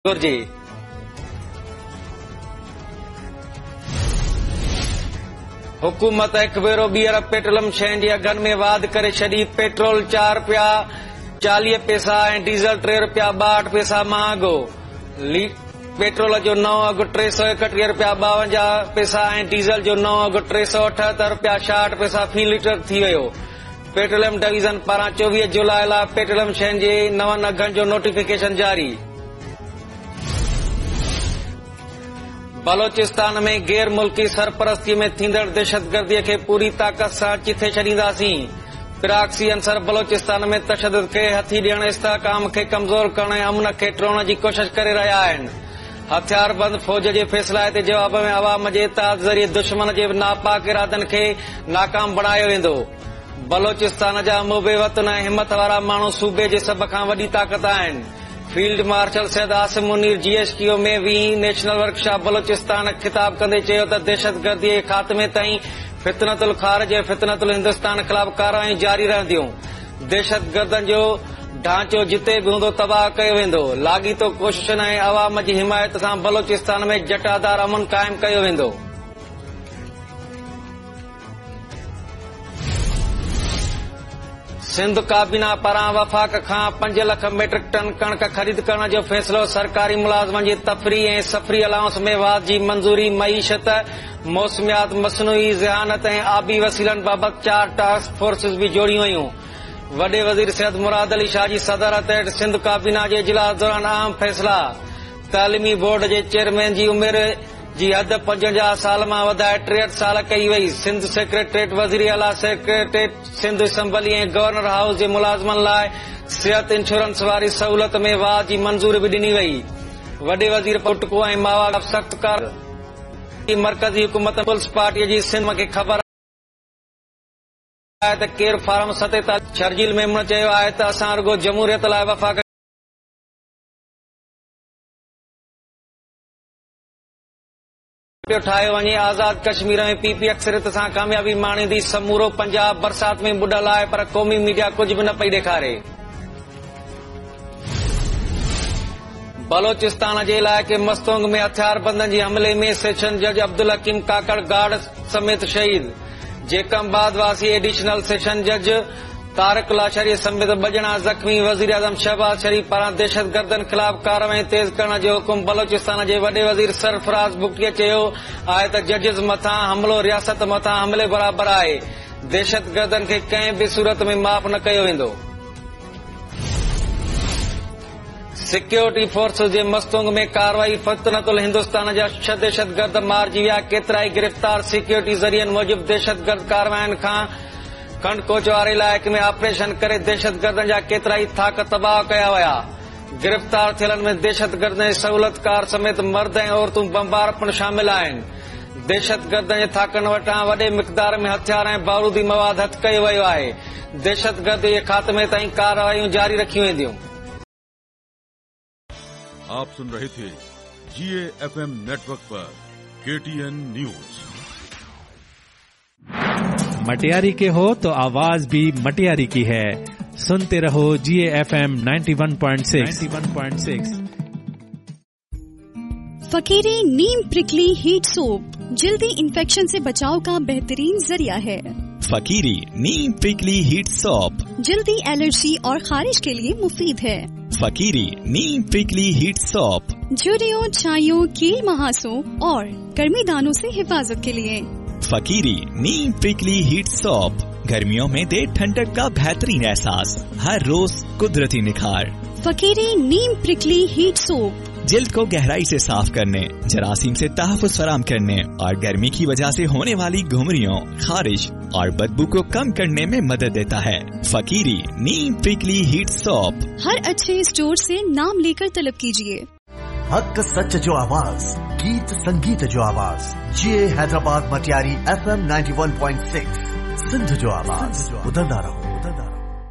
گهرجي. حڪومت هڪ ڀيرو ٻيهر پيٽروليم شين جي اگهن ۾ واڌ ڪري ڇڏي، پيٽرول چار رپيا چاليهه پئسا ۽ ڊيزل ٽي رپيا ٻاهٺ پئسا مهانگو، پيٽرول جو نئون اگهه 331 رپيا 52 پئسا ۽ ڊيزل جو نئون اگهه 378 رپيا 66 پئسا في ليٽر ٿي ويو. پيٽروليم ڊويزن پاران 24 جولاء لاء پيٽروليم شين جي نون اگهن جو نوٽيفڪيشن جاري. بلوچستان ۾ غير ملڪي سرپرستي ۾ ٿيندڙ دهشتگردي کي پوري طاقت سان چٿي ڇڏينداسين، پراڪسي عنصر بلوچستان ۾ تشدد کي هٿي ڏيڻ، استحڪام کي ڪمزور ڪرڻ ۽ امن کي ٽوڙڻ جي ڪوشش ڪري رهيا آهن، هٿياربند فوج جي فيصلائتي جواب ۾ عوام جي اتحاد ذريعي دشمن جي ناپاڪ ارادن کي ناڪام بڻايو ويندو. بلوچستان جا محب وطن ۽ همٿ وارا ماڻهو صوبي جي سڀ کان وڏي طاقت آهن. Field marshal Syed Asim Munir G H Q ۾ ويهين نيشنل ورڪشاپ بلوچستان کي خطاب ڪندي چيو ته دهشتگردي جي خاتمي تائين فتنة الخارج ۽ فتنة الهندستان خلاف ڪارروايون جاري رهنديون. دهشتگردن جو ڍانچو جتي به هوندو تباهه ڪيو ويندو، لاڳيتو ڪوششن ۽ عوام جي حمايت سان بلوچستان ۾ جٽادار امن قائم ڪيو ويندو. سنڌ ڪابينا پاران وفاق کان پنج لک ميٽرڪ ٽن ڪڻڪ خريد ڪرڻ جو فيصلو، سرڪاري ملازمن جي تفريح ۽ سفري الائونس ۾ واڌ جي منظوري، معيشت، موسميات، مصنوعي ذهانت ۽ آبي وسيلن بابت چار ٽاسڪ فورسز به جوڙيون ويون. وڏي وزير سيد مراد علي شاهه جي صدارت هيٺ سنڌ ڪابينا جي اجلاس دوران اهم فيصلا، تعليمي بورڊ جي چيئرمين جي عمر جي حد 55 سال مان وڌائي 63 سال ڪئي وئي، سنڌ سيڪريٽريٽ، وزيراعليٰ secretariat, Sindh assembly ۽ governor house جي ملازمن لاء صحت انشورنس واري سهولت ۾ واڌ جي منظوري به ڏني وئي. وڏي وزير پٽڪو ۽ ماوا خلاف سخت ڪارروائي، مرڪزي حڪومت پيپلز پارٽي جي سنڌ کي خبر آهي ته ڪير فارم 47 شرجيل ميمڻ چيو آهي ته اسان رڳو جمهوريت لاء وفاق پيو ٺاهيو وڃي، آزاد ڪشمير ۾ پي پي اڪثريت سان ڪاميابي ماڻيندي، سمورو پنجاب برسات ۾ ٻڏل آهي پر قومي ميڊيا ڪجهه به نه پئي ڏيکاري. بلوچستان جي علائقي مستونگ ۾ هٿياربندن جي حملي ۾ سيشن جج عبدالحڪيم ڪاڪڙ گارڊ سميت شهيد، جيڪب آباد واسي ايڊيشنل سيشن جج طارق لاشاري سميت ٻه ڄڻا زخمي، وزيراعظم شهباز شريف پاران دهشتگردن خلاف ڪارروايون تيز ڪرڻ جو حڪم، بلوچستان جي وڏي وزير سرفراز بگٽي چيو آهي ته ججز مٿان حملو رياست مٿان حملي برابر آهي، دهشتگردن کي ڪنهن به صورت ۾ معاف نه ڪيو ويندو. سيڪيورٽي فورسز جي مستونگ ۾ ڪارروائي، فتنة الهندوستان جا ڇهه دهشتگرد مارجي ويا، ڪيترائي گرفتار، سيڪيورٽي ذريعن موجب دهشتگرد ڪاررواين کان کنڊڪوچ واري علائقي ۾ آپريشن ڪري دهشتگردن جا ڪيترائي ٿاڪ تباهه ڪيا ويا، گرفتار ٿيلن ۾ دهشتگردن جي سهولتڪار سميت مرد ۽ عورتون بمبار پڻ شامل آهن، دهشتگردن جي ٿاڪن وٽان وڏي مقدار ۾ هٿيار ۽ بارودي مواد هٿ ڪيو ويو آهي، دهشتگردي جي خاتمي تائين ڪارروايون جاري رکيون وينديون. آپ سن رهي ٿي جي اي ايف ايم نيٽورڪ پر ڪي ٽي اين نيوز. مٽياري ڪي هو تو آواز ڀي مٽياري ڪي هي سنتي رهو جي اي ايف ايم 91.6 91.6. फकीरी नीम प्रिकली हीट सोप जल्दी इन्फेक्शन से बचाव का बेहतरीन जरिया है। फकीरी नीम प्रिकली हीट सोप जल्दी एलर्जी और खारिश के लिए मुफीद है। फकीरी नीम प्रिकली हीट सोप झुर्रियों, छाइयों, कील महासों और गर्मी दानों से हिफाजत के लिए फकीरी नीम प्रिकली हीट सोप गर्मियों में दे ठंडक का बेहतरीन एहसास, हर रोज कुदरती निखार। फकीरी नीम प्रिकली हीट सोप जिल्द को गहराई से साफ करने, जरासीम से तहफ़्फ़ुज़ फराहम करने और गर्मी की वजह से होने वाली घुमरियों, खारिश और बदबू को कम करने में मदद देता है। फकीरी नीम प्रिकली हीट सोप हर अच्छे स्टोर से नाम लेकर तलब कीजिए। हक सच जो आवाज, गीत संगीत जो आवाज, जी Hyderabad Matiari F M 91.6 Sindh जो आवाज। ॿुधंदा रहो।